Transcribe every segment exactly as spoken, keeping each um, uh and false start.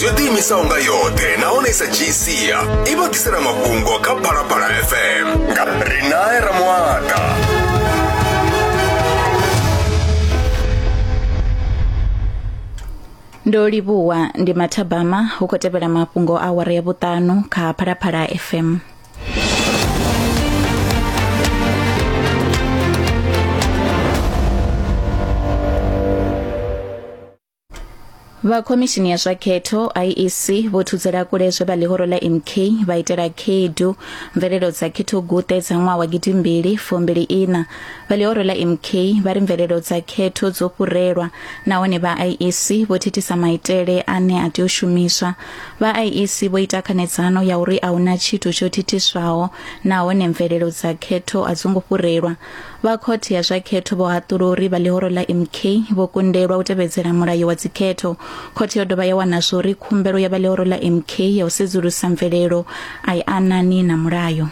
yo ḓiimisaho nga yoṱhe nahone i sa dzhii sia i vha ḓisela mafhungo kha Phalaphala F M nga Rinae Ramuata. Ndo livhuwa ndi mathabama hu khou tevhela mafhungo a awara ya vhuṱanu kha Phalaphala F M. Vha khomishini ya zwa khetho I E C vho thudzela kule zwe vha ḽihoro ḽa M K vha itela khaedu mvelelo dza khetho guṱe dza ṅwaha wa gidimbili fumbili ina. Vha ḽihoro ḽa M K vha ri mvelelo dza khetho dzo fhurelwa nahone vha I E C vho thithisa maitele ane a tea u shumiswa. Vha I E C vho ita khanedzano ya uri a huna tshithu tsho thithiswaho nahone mvelelo dza khetho a dzo ngo fhurelwa. Vha khothe ya zwa khetho vho haṱula uri vha ḽihoro ḽa M K vho kundelwa u tevhedzela mulayo wa dzikhetho. Khothe yo dovha ya wana zwori khumbelo ya vha ḽihoro ḽa M K ya u sedzulusa mvelelo a i anani na mulayo.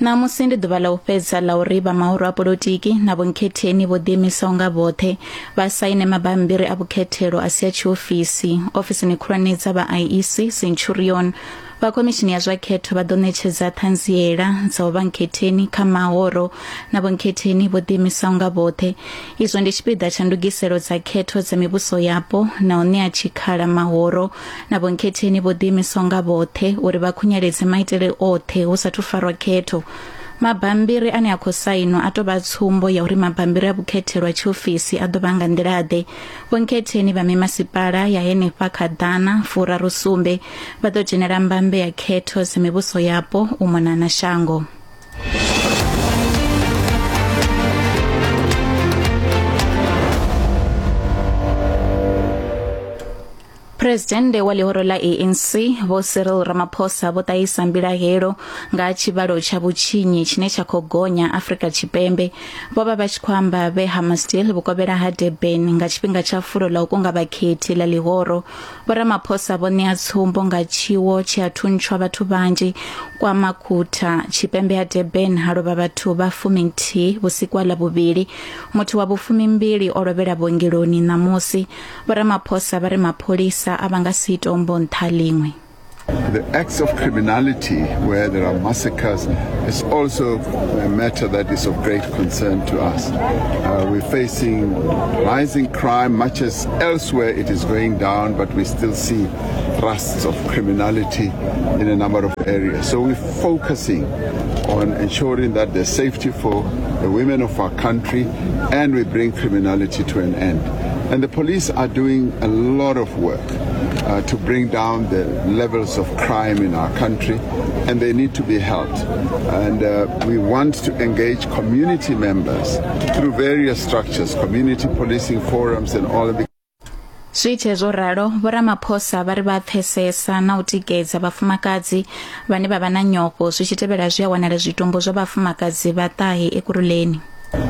Ṋamusi ndi ḓuvha ḽa u fhedza ḽa uri vha mahoro a polotiki na vhonkhetheni vho ḓiimisaho nga vhoṱhe vha saine mabambiri a vhukhethelo a si a tshiofisi ofisini khulwane dza vha I E C Centurion. Vha khomishini ya zwa khetho vha ḓo ṋetshedza ṱhanziela dza u vha nkhetheni kha mahoro na vhonkhetheni vho ḓiimisaho nga vhoṱhe. Izwo ndi tshipiḓa tsha ndugiselo dza khetho dza mivhuso yapo na u ṋea tshikhala mahoro na vhonkhetheni vho ḓiimisaho nga vhoṱhe uri vha khunyeledze maitele oṱhe hu sathu farwa khetho. Mabambiri ane a khou sainwa a tou vha tsumbo ya uri mabambiri a vhukhethelo a tshiofisi a ḓo vha nga nḓila-ḓe. Vhonkhetheni vha mimasipala ya henefha kha ḓana furaru sumbe vha ḓo dzhenela mbambe ya khetho dza mivhuso yapo u mona na shango. Presidennde wa ḽihoro ḽa A N C Vho Cyril Ramaphosa vho ṱahisa mbilahelo nga tshivhalo tsha vhutshinyi tshine tsha khou gonya Afrika Tshipembe. Vho vha vha tshi khou amba vhe Hammarsdale vhukovhela ha Durban nga tshifhinga tsha fulo ḽa u kunga vhakhethi ḽa ḽihoro. Vho Ramaphosa vho ṋea tsumbo nga tshiwo tshi a thuntshwa vhathu vhanzhi kwa Makhutha tshipembe ha Durban ha lovha vhathu vha fuminthihi vhusiku ha Ḽavhuvhili. Muthu wa vhufumimbili o lovhela vhuongeloni ṋamusi. Vho Ramaphosa vha ri mapholisa a vha nga si tombo nṱha ḽiṅwe. The acts of criminality where there are massacres is also a matter that is of great concern to us. Uh, we're facing rising crime, much as elsewhere it is going down, but we still see thrusts of criminality in a number of areas. So we're focusing on ensuring that there's safety for the women of our country and we bring criminality to an end. And the police are doing a lot of work uh, to bring down the levels of crime in our country, and they need to be helped. And uh, we want to engage community members through various structures, community policing forums and all of the. Zwi tshe zwo ralo, Vho Ramaphosa vha ri vha pfesesa na u tikedza vhafumakadzi vhane vha vha na nyofho zwi tshi tevhela zwi a wanala zwitumbu zwa vhafumakadzi vha ṱahe Ekurhuleni.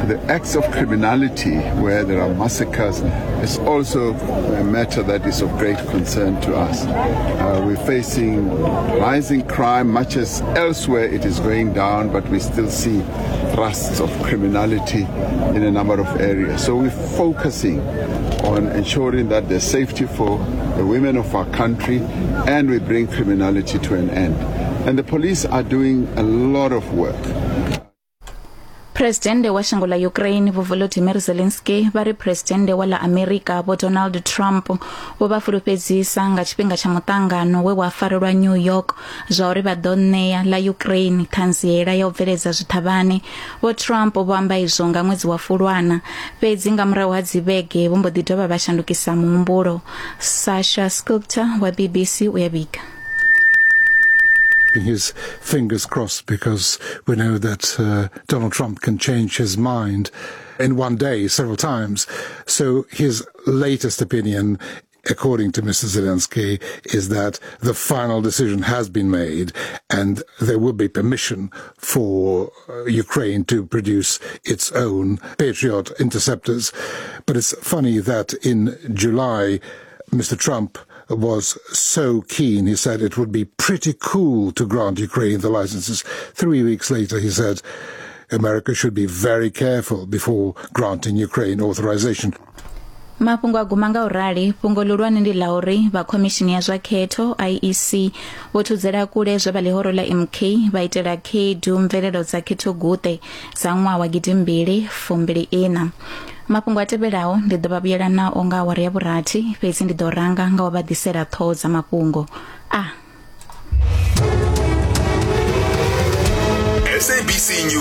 The acts of criminality where there are massacres is also a matter that is of great concern to us. Uh, we're facing rising crime, much as elsewhere it is going down, but we still see thrusts of criminality in a number of areas. So we're focusing on ensuring that there's safety for the women of our country and we bring criminality to an end. And the police are doing a lot of work. Presidennde wa shango ḽa Ukraine Vho Volodymyr Zelensky vha ri presidennde wa ḽa Amerika Vho Donald Trump vho vha fulufhedzisa nga tshifhinga tsha muṱangano we wa farelwa New York zwa uri vha ḓo ṋea ḽa Ukraine ṱhanziela ya u bveledza zwiṱhavhane. Vho Trump vho amba izwo nga ṅwedzi wa Fulwana, fhedzi nga murahu ha dzivhege vho mbo ḓi dovha vha shandukisa muhumbulo. Sasha Sculptor wa B B C u ya vhiga. His fingers crossed, because we know that uh, Donald Trump can change his mind in one day several times. So his latest opinion, according to Mister Zelensky, is that the final decision has been made and there will be permission for Ukraine to produce its own Patriot interceptors. But it's funny that in July, Mister Trump was so keen. He said it would be pretty cool to grant Ukraine the licenses. Three weeks later, he said America should be very careful before granting Ukraine authorization. Mafhungo a guma nga u rali. Fhungo ḽihulwane ndi ḽa uri vha khomishini ya zwa khetho I E C vho thudzela kule zwe vha ḽihoro ḽa M K vha itela khaedu mvelelo dza khetho guṱe dza ṅwaha wa gidimbili fumbili ina. Mafhungo a tevhelaho ndi ḓo vha vhuyela nao nga awara ya vhurathi, fhedzi ndi ḓo ranga nga u vha ḓisela ṱhoho dza mafhungo. A S A B C News.